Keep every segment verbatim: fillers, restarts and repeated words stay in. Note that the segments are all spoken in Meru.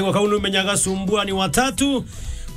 Kau numenyaga sumbua ni watatu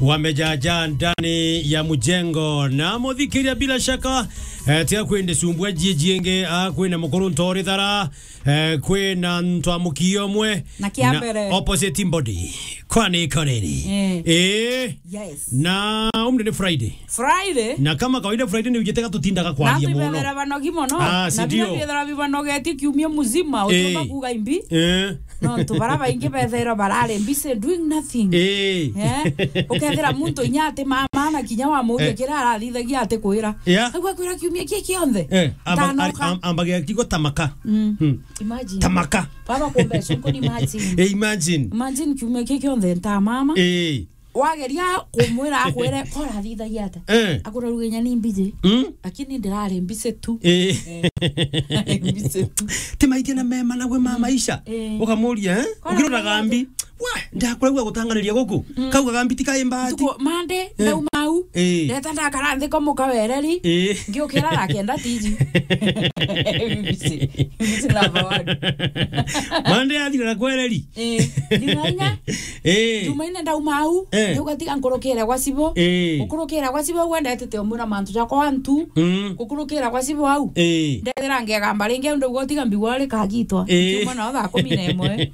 wamejaja ndani ya mjengo. Na muthikiria bila shaka, eh, tia kwende sumbua jiji ingi, ah, kwina mukuru ntori thara, eh, kwina ntwa mukio mwe. Na kia mbere. Opposite body. Kwani koneni. Eh. Eh. Yes. Na umri ni Friday. Friday? Na kama kawaida Friday ni ujitega tutindaga kwaria muno. Na bibethera banogi muno. Ah, si ndio? Na bibethera bibanogetie kiumia muzima, eh, utumba kuga imbi. Eh. No, tu bara baingi bethera barare busy doing nothing. Eh. Eh? Ukethira muntu inya ati mama na kinya wa muria, eh, kira arathithagia ati kwira. Yeah. Agwa kwira kiumia ki kionthe. Eh, amba-, ntanoka. Am-, ambagia kigo tamaka. Mm. Hmm. Imagine. Tamaka. Baba kumbe suko ni imagine. Eh, imagine. Imagine kiumia ki kionthe nta mama. Eh. Wageria kumwira akwire, "Ko urathithagia ata?" Eh. Akwira, "Ruga inya ni mbiji." Mm. Lakini ndirari mbise tu. Eh. Eh. Mbise tu. Ti maitia na mema na gwe ma maisha. Eh. Ukamuria, eh? Ko ukirora urathithagia gambi. Wa, ndakuragua gutanganiria guku. Mm. Kauga gambi ti kai mbati. Tuko Monday, eh, ndauma au. Eh. Ndeta ndakara nthi ko muka wereri. Eh. Ngiukira ra kenda tiji. Mbise. Mbise number one. Monday athira na kwereri. Eh, Jumaine. Eh. Jumaine ndauma au, eh, ndauga tiga nkurukire gwa Cibo. Eh. Ukurukira gwa Cibo au ndetete umwira mantu jakwa antu. Mm. Ukurukira gwa Cibo au. Eh. Ndethira ngegamba ringi au ndauga tiga mbigwa ri kagitwa. Eh. Kiuma nao thaa kumi na imwe.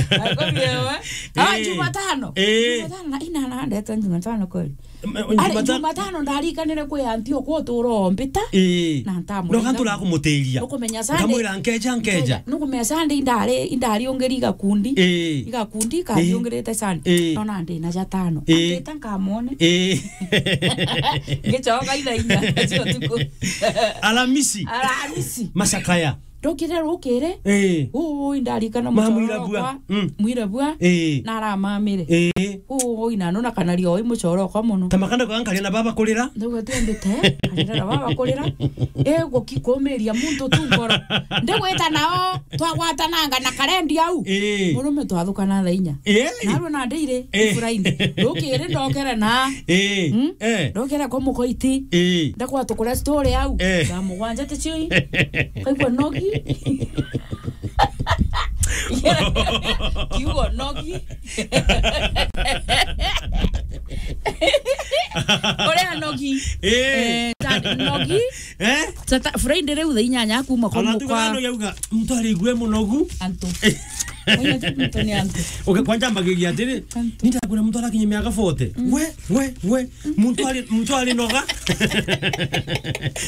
Thaa kumi na imwe. Ah, eh, Jumatano. Eh. Jumatano na ina na ndete Jumatano kweli. M-, ari, Jumatano. Jumatano ndarikanire kwi anti okwa utura ombita. Ii. Na ntamwira. No kantu la kumutiria. Nukumenya Sunday. Nkamwira, "Nkeja, nkeja." Nukumenya Sunday indari, indari ungiri igakundi. Ii. Igakundi, ii, kariungirite Sunday. Ii. Nona ndi na jatano. Ii. Ambita nkamwone. Ii. Ngicoka ithaa inya cia utuku. Alamisi. Alamisi. Macakaya. Ndokire rukiri. Ii. Uu, indarikana mucoro. Mamwira bua. Okwa. Mm. Mwira bua. Ii. Na aramamire. Ii. Uu, ina nona kana rio i mucoro okwa muno. Tamakanda kwa nkaria na baba kurira. Ndauga ti ambite. Arira na baba kurira. E, guki-, kumiria muntu tu ngoro. Ndigwita nao, twagwatananga na karendi au. Ii. Murume twathukana thaa inya. Ii. Narua na ndiri, ii, Friday. Rukiri ndokere na. Ii. Mm? Eh. Ndokere kwa mukoiti. Ii. Ndakwa tukure story au. Eh. Thaa mugwanja ti chui. Kaigua nogi. Kiugo nogi. Uria nogi. Eh. Eh, tani nogi. Eh? Sata-, Friday riu thaa inyanya kuma kwa. Ona tu mukwa. Nogi auga, mtu aligue munogu. Antu. Mwenye tu mtu ni antu. Okay, kwanja mbagiria atiri, antu. Nitakwira mtu arakinya miaka forty. Mm. We, we, we. Muntu ari, muntu ari noga.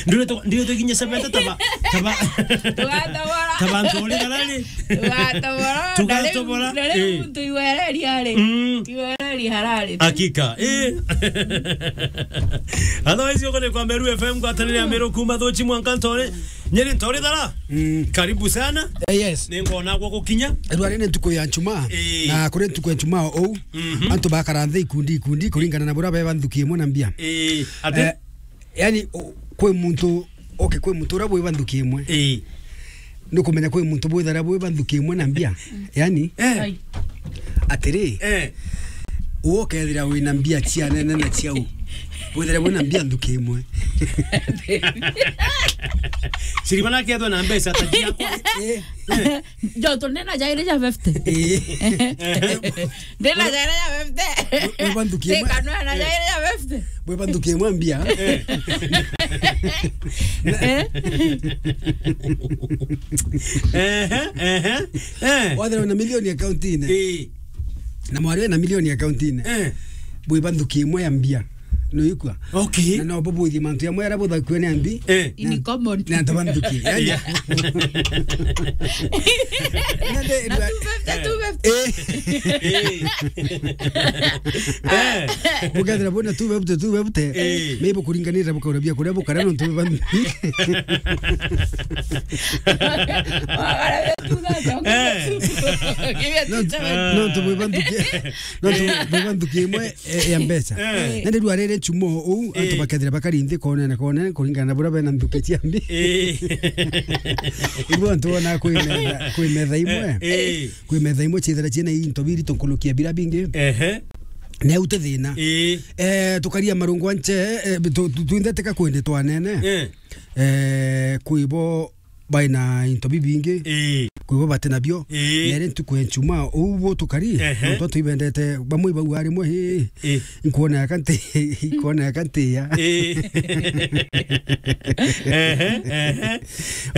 Ndire tu, ndire tu kinye seventy taba, taba. Tugatobora. Taba nturi garari. Tugatobora. Tugatobora. Ndari, ndari, eh, muntu iwereri ari. Mm. Iwereri harari. Hakika. Eh. Otherwise, uko ni kwa Meru F M, ngwatanire ya Meru kuma Thuchi mwanka Ntore. Nyeri Ntore thara. Mm. Karibu sana. Eh, yes. Ni ngona gwa gukinya. Rwari ni ntuku ya Njumaa. Eh. Na kuri ntuku ya Njumaa ou. Mhm. Antu bakara nthi ikundi ikundi kuringana na buria beba nthuki imwe na mbia. Ii, ati? Eh, yani, o, kwi muntu, okay, kwi muntu uria bwiba nthuki imwe. Ii. Nukumenya kwi muntu bwithara bwiba nthuki imwe na mbia. Yani, eh, ai, atiri, eh, uwe ukethira wina mbia cia nene na ciau. Withira wina mbia nthuki imwe. Siribana akethwa na mbeca ta ciakwa. Eh. Eh. Joto, ndina jairi ja fifty. Eh. Ndina jairi ja fifty. Wiba nthuki imwe. Tika no na jairi ja fifty. Wiba nthuki imwe mbia. Eh. Ehe, ehe, eh. Wathira wina milioni account-ini. Eh. Na mwari wina milioni account-ini. Eh. Wiba nthuki imwe ya mbia. Nuikua? Okay. Na no bubwithie mantu jamwe aria buthakua ni ambi. Eh. In common. Na antu ba nthuki. Yani. Yeah. Na nde, na two fifty, two fifty. Eh. Eh. Eh. Bukethira bwina two fifty, two fifty. Eh. Maybe kuringanira bukaura bia kuria bukara nontu ba nthuki. Eh. Nontu, nontu bwiba nthuki. Nontu bwiba nthuki imwe eh, ya mbeca. Eh. Na ndirwa riri nchumo uu, antu, eh, bakethira bakari nthi konene konene kuringana na buria bena nthuki cia mbi. Eh. Ibu antu bona kwi metha, kwi metha imwe. Eh. Kwi metha imwe ciithira ciina into biri tunkurukia bira bingi. Ehe. Ne ute thina. Eh. Eh, tukaria marungu anche, eh, tu, tu, twinthe tika kwende twanene. Eh. Eh, kwibo baina into bibingi, ii, kwibo bati nabio. Ii. Nere ntuku ya Njumaa, uu bu tukari, ehe, nontu antu ibendete, bamwe ibauga rimwe, ii, ii, nkwona yaka nti-, nkwona yaka ntiya. Ii. Ehe, ehe.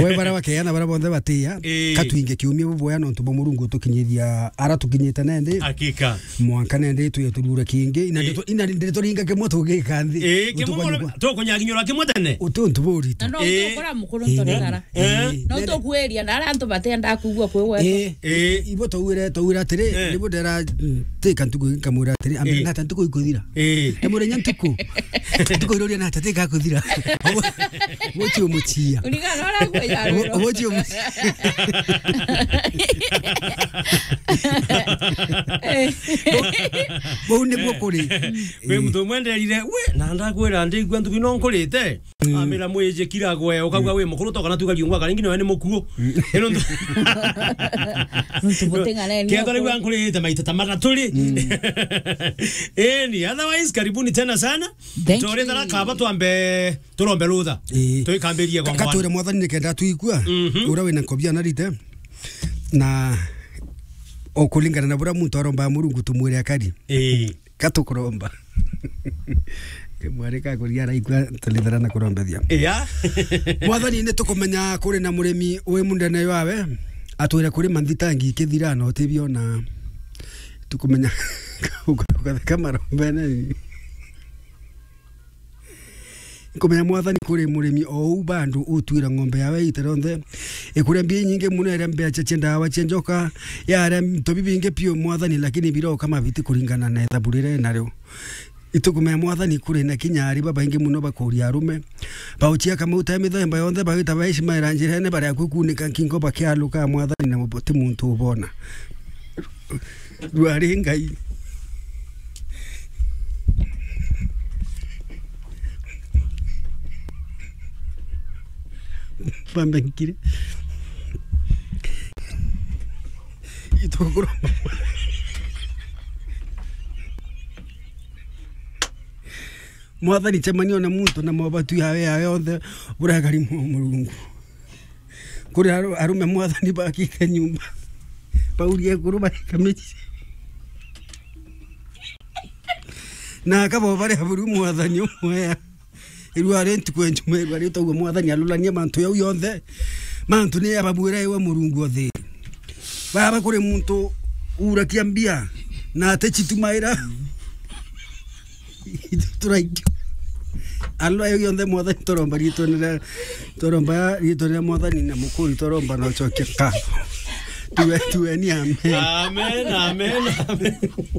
We bara bakeana bara bonthe batiya, ii, katwinge kiumia buboya nontu bwa Murungu utukinyithia ara tukinyite nendi. Hakika. Mwanka nendi tuye turure kingi, ina, ii, ndeto, ina ndeto ringa kimwe tugika nthi. Ii, kimwe tukonye mwana, kwa tukunyaginyura kimwe tene. Uti untu buritu. Na no, ii, utukora mukuru, ii, ntorethara. Eh? No, ii, tukuiria na aria antu batenda kugua kwi gwetwa. Ii. Ii. Ibo twaugire, twaugire atiri, eh, nibo ndera, mm, tika ntuku ingi nkamwira atiri, ambe, ii, nata ntuku ikuthira. Ii. Ndamwira nya ntuku. Ntuku iruria nata tika kuthira. Obo, obo ti umuchia. Uringana na uria akwija. Obo, obo ti umuchia. Bou, bou niguo kuri. Kwi muntu umwe nderire, we, na ndakwira ndigua ntuku ino nkurite. Mm. Amira mwiji kira gwe, ukauga, mm, wi mukuru, toka na tuga riungwa karingi, nawe ni mukuu. Mm. Ino ntu-, ntu buting'aneni kethwa riu nkurite maita ta mataturi. Mm. Eni, otherwise, karibuni tena sana. Thank you. Tore thara kaba twambe, turombe rutha. Ii. Tuikambirie. Ka-, gongwana. Katwire Mwathani nikenda twikua, mhm, uria wina nkobia na rite. Na o kuringana na buria muntu aromba Murungu tumwire akari. Ii. Katukuromba. Mwarika kuria araikua, tulithira na kurombethia. Iya. Mwathani, ni tukumenya kuri na murimi wi mundene yawe, atwire kuri manthitangi kithira na utibiona. Tukumenya ukatheka marombene. Nkumenya, Mwathani, kuri murimi o uu bandu utwira ng'ombe yawe ita rionthe, ikuria mbia inyingi muno, iria mbecha cia ndawa cia njoka, yaria into bibingi piu, Mwathani, lakini biroka mabiti kuringana na ithabu riria nario. Itukumenya, Mwathani, kuri na kinya ari babaingi muno bakuria arume, bauchia kamauta ya mithemba yonthe, bagita baishimaira njirene, baria kukunika nkingo bakialuka, Mwathani, na ti muntu ubona. Rwari Ngai. Bambe nkire. Ituguru. Mwathani, cemania na muntu na mobatu yawe, yawe yonthe, burakari mu-, Murungu. Kuri aru-, arume, Mwathani, bakite nyumba. Baurie ekuru barika mici. Na akabo baria buru, Mwathani, umwe ya. Irua ri ntuku ya Njumaa, irua ri tauga, Mwathani, arurania mantu jau yonthe. Mantu ni ababuira iwe, Murungu o thi. Baba, kuri muntu urakia mbia na atechitumaira. Turaikio. Alwa yo yonthe, Mwathani, turomba riitwa ria, turomba riitwa ria Mwathani na mukuri, turomba na ucokia ka. Tuwe, tuwe ni amen. Amen, amen, amen.